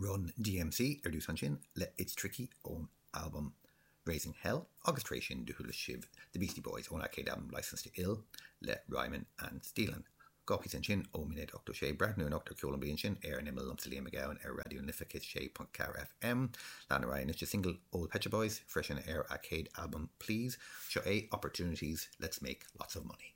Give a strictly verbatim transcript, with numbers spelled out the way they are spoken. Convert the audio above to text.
Run DMC ar dtús ansin le It's Tricky ón albam Raising Hell agus tar éis sin do chuala sibh The Beastie Boys óna chéad albam Licensed to Ill le Rhymin' and Stealin'. Dhá phíosa ansin ó naoi déag ochtó sé breathnú anocht ar ceol an bhliain sin ar an imeall liomsa Liam Mac Gabhann ar Raidió na Life céad sé ponc ceathair FM. Lean ar aghaidh anois le single ó Pet Shop Boys freisin ar a chéad albam Please seo é Opportunities Let's Make Lots of Money.